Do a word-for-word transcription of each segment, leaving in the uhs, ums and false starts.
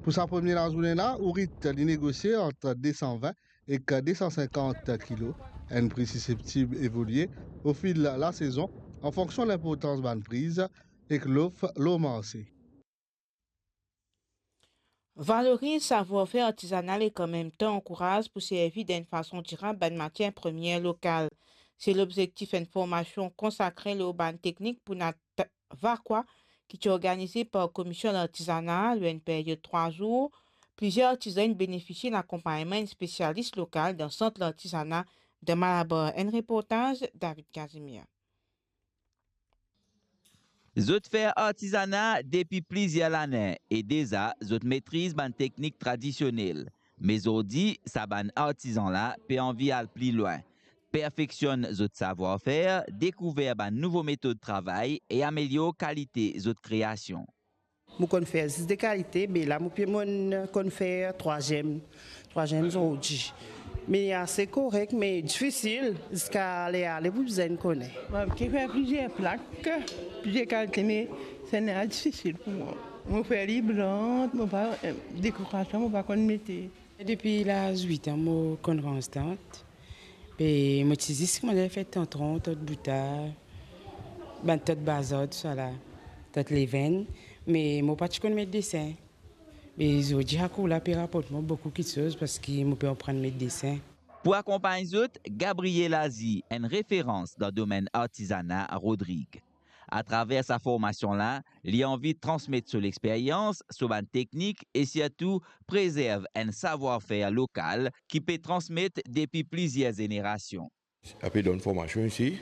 Pou sa premie lazourne la, ourit li negosie ant de san vin ek de san sinkant kilo, enn pri siseptib evolie ofil lasezon, an fonksion linportans bann priz ek lof lor marse. Valoriz savwar-fer artizanal ek an mem tan ankouraz pou servi dan enn fason dirab bann matier premie lokal. Se lobzektif enn formasion konsakre lor bann teknik pou nat vakwa ki ti organize par Komision Lartizana lor enn peryod trwa zour. Plizier artizan inn benefisie lakonpagnman enn spesialis lokal dan Sant Lartizana dan Malabar. Enn reportaz David Casimir. Zot fer artizana depi plizier lane e deza zot metriz bann teknik tradisionel. Me zordi, sa bann artizan la pe anvi al pli lwin, perfeksionn zot savwar-fer, dekouver bann nouvo metod travay e amelior kalite zot kreasion. Mo konn fer zis de kalite, me la mo pe, mo konn fer trwaziem, trwaziem zordi. Me ase korek, me difisil, ziska ler ale pou bizin kone. Mo ti fer plizier plak, plizier kalite, me sannla difisil pou mwa. Mo fer li blan, mo pa, eh, dekorasion, mo pa konn mete. Depi laz wit an mo konn rans tant. Be mo ti zis koumans fer tant tron, tant boutar, bann tant bazar, tousala, tant levenn. Me mo pa ti konn met desin. Be zordi sa kour la pe raport mwa boukou kiksoz parski mo pe aprann met desin. Pou akonpagn zot, Gabriel Azi, enn referans dan domenn artizana Rodrig. Atraver sa formasion la, li anvi transmet so lexperyans, so bann teknik e sirtou prezerv enn savwar-fer lokal ki pe transmet depi plizier zenerasion. Sa pe donn formasion isi,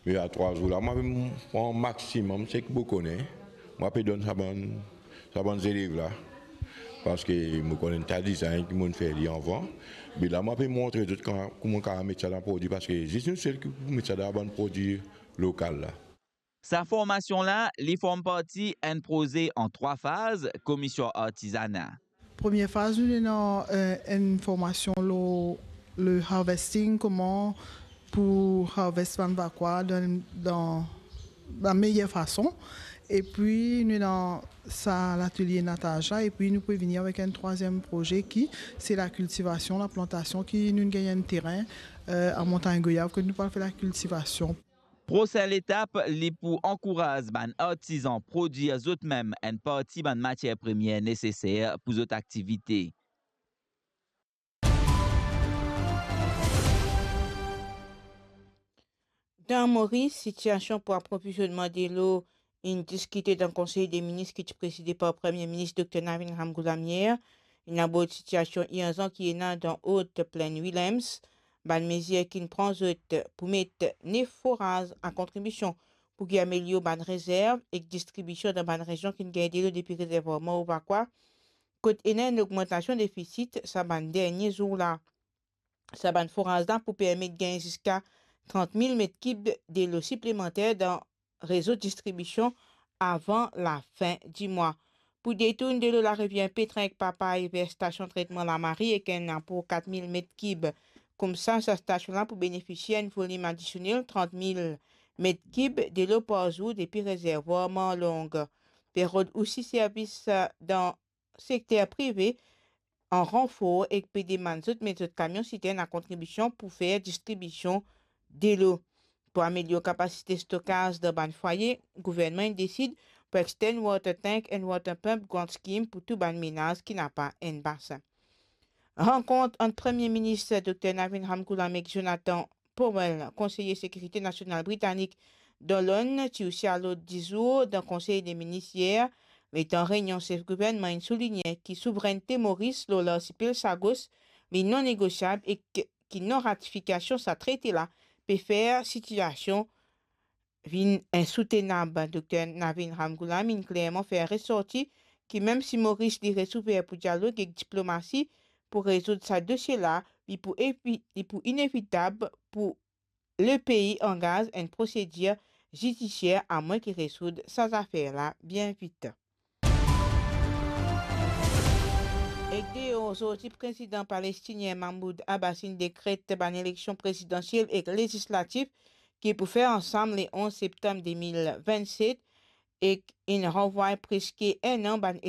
me a trwa zour la, mwa pe pran maximum seki mo kone, mwa pe donn sa bann, sa bann zelev la, parski mo konn enn ta dizinn ki mo'nn fer li avan, me la mwa pe montre zot kouma, kouma kapav met sa dan prodwi, parski zis nou sel ki pou met sa dan bann prodwi lokal la. Sa formasion la, li form parti enn proze an trwa faz Komision Artizana. Premie faz, nou ena, eh, enn formasion lor le harvesting, kouma pou harvest bann vakwa dan, dan la meyer fason. Epi nou ena sa latelie nataz la, epi nou pou vini avek enn trwaziem proze ki se lakiltivasion, laplantasion, ki nou gagn enn terin, eh, a Montagne Goyave, ki nou pou al fer lakiltivasion. Prosin letap, li pou ankouraz bann artizan prodwir zot mem enn parti bann matier premie neseser pou zot aktivite. Dan Moris, sitiasion pou aprovizionman delo inn diskite dan Konsey de Minis ki ti prezide par Premie Minis Dokter Navin Ramgoolam yer. Inn abord sitiasion irzan ki ena dan Haute Plaine Willems. Bann mezir ki'nn pran zot pou met nef foraz a kontribision pou ki amelior bann rezerv ek distribision dan bann rezion ki'nn gagn delo depi rezervwar Mor Vakwa, kot ena enn ogmantasion defisit sa bann dernie zour la. Sa bann foraz la pou permet gagn ziska trant mil met kib delo siplemanter dan rezo distribision avan lafin dimwa. Pou detourn delo Larivier Petrin ek Papay ver stasion tretman Lamari ek enn apor kat mil met kib. Koumsa, sa stasion la pou benefisie enn volim adisionel trant mil met kib delo par zour depi rezervwar Marlong. Pe rod osi servis, eh, dan sekter prive an ranfor ek pe demann zot met zot kamion sitern a kontribision pou fer distribision delo. Pou amelior kapasite stokaz dan bann fwaye, gouvernman inn desid pou extend water tank and water pump grant scheme pou tou bann menaz ki napa enn basin. Rankont ant Premie Minis Dokter Navin Ramgoolam ek Jonathan Powell, konseye sekirite nasional britanik, dan Lonn, ti osi a lord dizour dan Konsey de Minis yer, letan reynion sef gouvernman inn souligne ki souvrennte Moris lor larsipel Sagos li non negosiab ek ki non-ratifikasion sa trete la pe fer sitiasion vinn insoutenab. Dokter Navin Ramgoolam inn klerman fer resorti ki mem si Moris li res ouver pou dialog ek diplomasi pou rezoud sa dosie la, li pou evi-, li pou inevitab pou lepei angaz enn prosedir zidisier amwin ki rezoud sa zafer la bien vit. Ek deor zordi, Prezidan palestinien Mahmoud Abbas inn dekret bann eleksion prezidansiel ek lezislatif ki pou fer ansam le onz septam de mil vennset, ek inn ranvway preske enn an bann